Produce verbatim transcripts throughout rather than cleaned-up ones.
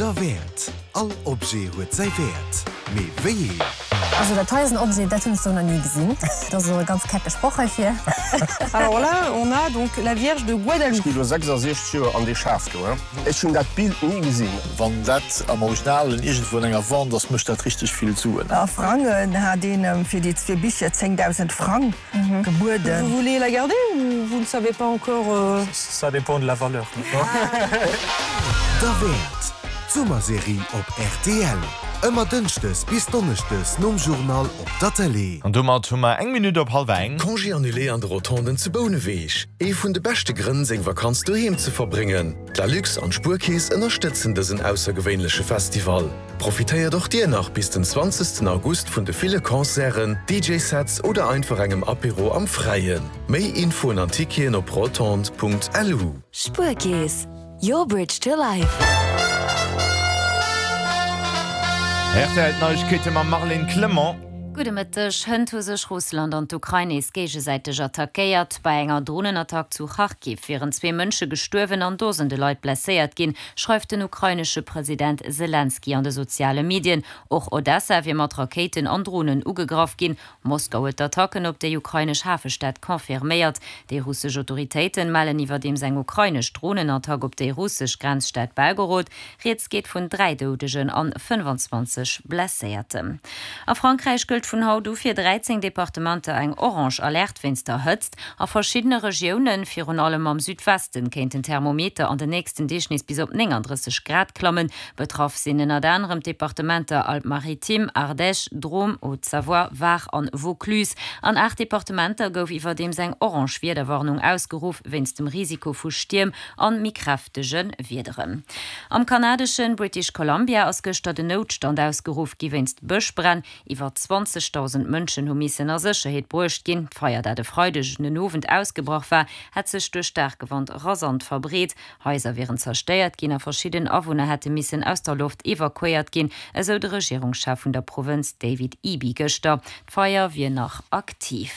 Derwäert. All Objet huet säi Wäert. Mee wéi een? Also dat hei ass en Objet, dat hunn ech sou nach ni gesinn. Dat ass elo e ganz kecke Sproch heifir. Alors là, on a donc la Vierge de Guadalupe. Ech gi lo sechsasechzeg Joer an dee Schaf do, he. Ech hunn dat Bild ni gesinn. Wann dat am Originalen iergendwou an enger Wand ass, mécht dat richteg vill Suen. A Frangen hat een em fir déi zwee Bicher zéngdausend Frang gebueden. Vous voulez la garder ou vous ne savez pas encore? Ça dépend de la valeur. Derwäert, d'Summerserie op rtl. Ëmmer dënschdes bis donneschdes nom Journal op der Tëlee. An domat hu mer eng Minutt op hallwer eng. Congé annulé an de Rotonden zu Bouneweg, Ee vun de beschte Grënn, seng Vakanz doheem ze verbréngen. D'Lalux an d'Spuerkeess ënnerstëtzen dësen aussergewéinleche Festival. Profitéiert och dir nach bis den zwanzegsten August vun de ville Concerten, D J-Sets oder einfach engem Apéro am Fräien. Méi Infoen an Ticketen op rotondes Punkt lu. Spuerkeess, your bridge to life. R T L Neiegkeete mam Marlène Clement. Gudde Mëtteg. Hënt hu sech Russland an d'Ukrain nees géigesäiteg attackéiert. Bei enger Dronenattack zu Charkiw wieren zwee Mënsche gestuerwen an Dosende Leit blesséiert ginn, schreift den ukrainesche President Selenskyj an de soziale Medien. Och Odessa wier mat Rakéiten an Dronen ugegraff ginn. Moskau huet d'Attacken op déi ukrainesch Hafestad confirméiert. Déi russesch Autoritéite mellen iwwerdeems eng ukrainesch Dronenattack op déi russesch Grenzstad Belgorod. Rieds geet vun dräi Doudegen an fënnefanzwanzeg Blesséierten. A Frankräich gëllt vun haut u fir dräizéng Departementer eng orange Alerte wéinst der Hëtzt. A verschiddene Regiounen, virun allem am Südwesten, kéint den Thermometer an den nächsten Deeg nees bis op nénganddrësseg Grad klammen. Betraff sinn ënnert anerem d'Departementer Alpes-Maritimes, Ardèche, Drôme, Haute-Savoie, Var an Vaucluse. An aacht Departementer gouf iwwerdeems eng orange Wiederwarnung ausgeruff wéinst dem Risiko vu Stierm an méi kräftege Wiederen. Am kanadeschen British Columbia ass gëschter den Noutstand ausgeruff gi wéinst Bëschbränn. Iwwer zwanzegdausend Mënschen hu missen a Sécherheet bruecht ginn. D'Feier, dat e Freideg den Owend ausgebrach war, hätt sech duerch staarke Wand rasant verbreet. Haiser wieren zerstéiert ginn a verschidden Awunner hätte missen aus der Loft evakuéiert ginn, esou de Regierungschef vun der Provënz David Eby gëschter. D'Feier wier nach aktiv.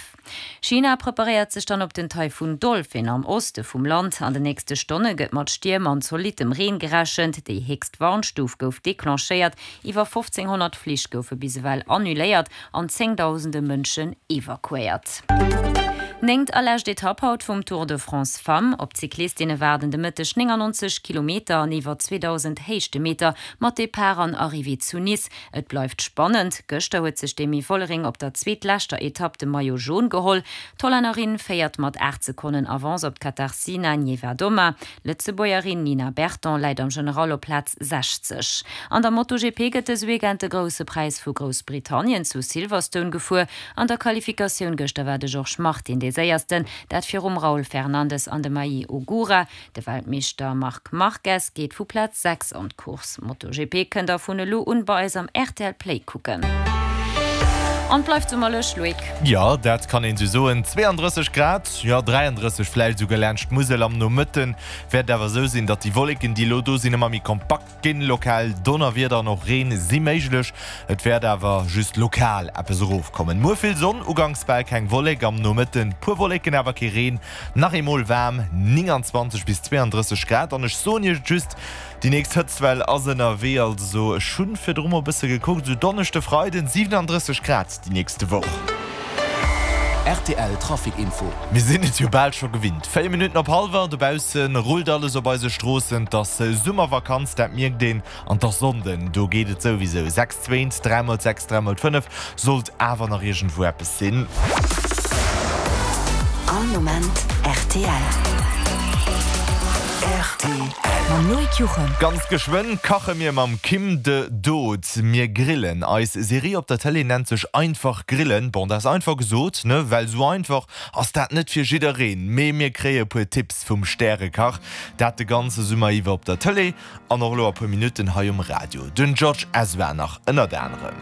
China preparéiert sech dann op den Taifun Dolphin am Oste vum Land. An den nächste Stonne gëtt mat Stierm an zolittem Reen gerechent. Déi héchst Warnstuf gouf declenchéiert. Iwwer fofzénghonnert Flich goufe bis ewell annuléiert an zéngdausende Mënschen evakuéiert. Néngt a lescht Etapp haut vum Tour de France Femmes. Op d'Cyclistinne waarden de Mëtteg néngannonzeg Kilometer an iwwer zweedausend Héichtemeter mat Depart an Arrivée zu Nice. Et bleift spannend, Gëschter huet sech d'Demi Vollering op der zweetleschter Etapp de Maillot Jaune geholl. D'Hollännerin féiert mat aacht Sekonnen Avance op d'Katarzyna Niewiadoma. D'Lëtzebuergerin Nina Berton läit am General op Plaz sechzeg. An der MotoGP gëtt dëse Weekend de Grousse Präis vu Groussbritannien zu Silverstone gefuer. An der Qualifikatioun gëschter war de Jorge Martin dee Séiersten, dat virum Raul Fernandez an dem Ai Ogura. De Weltmeeschter Marc Marquez geet vu Plaz sechs an d'Course. MotoGP kënnt der vun elo un bei eis am R T L Play kucken. An et bleift summerlech, Loïc. Jo, dat kann een sou soen. zweeandrësseg Grad, jo dräiandrësseg vläicht esouguer laanscht d'Musel. Am Nomëtte wäert et awer esou sinn, datt déi Wolleken, déi elo do sinn, ëmmer méi kompakt ginn. Lokal Donnerwieder an och Reen si méiglech, et wäert awer just lokal eppes erofkommen. Muer vill Sonn, uganks bal keng Wollek, am Nomëtten puer Wolleken, awer kee Reen. Nach eemol waarm, nénganzwanzeg bis zweeandrësseg Grad. An ech soen iech just, déi nächst Hëtztwell ass ënnerwee. Also ech hunn virdru mol e bësse gekuckt, esou Donneschde, Freiden siwenandrësseg Grad déi nächste Woch. R T L Trafic Info. Mir sinn et jo bal scho gewinnt. Véier Minutten op hallwer, dobausse rullt alles op eise Stroossen. 't ass Summervakanz, dat mierkt een. An 't ass Sonnden, do geet et souwisou. Sechs zwéint, dräi mol sechs, dräi mol fënnef, sollt awer nach iergendwou eppes sinn. All Moment R T L. R T L. Mam Loïc Juchem. Ganz geschwënn kache mir mam Kim de Dood. Mir grillen. Eis Serie op der Tëlee nennt sech Einfach grillen. Bon, dat ass einfach gesot, ne? Well sou einfach ass dat net fir jiddereen. Mee mir kréie puer Tipps vum Stärekach. Dat de ganze Summer iwwer op der Tëlee an och elo a puer Minutten hei um Radio. Den George Ezra nach ënnert anerem.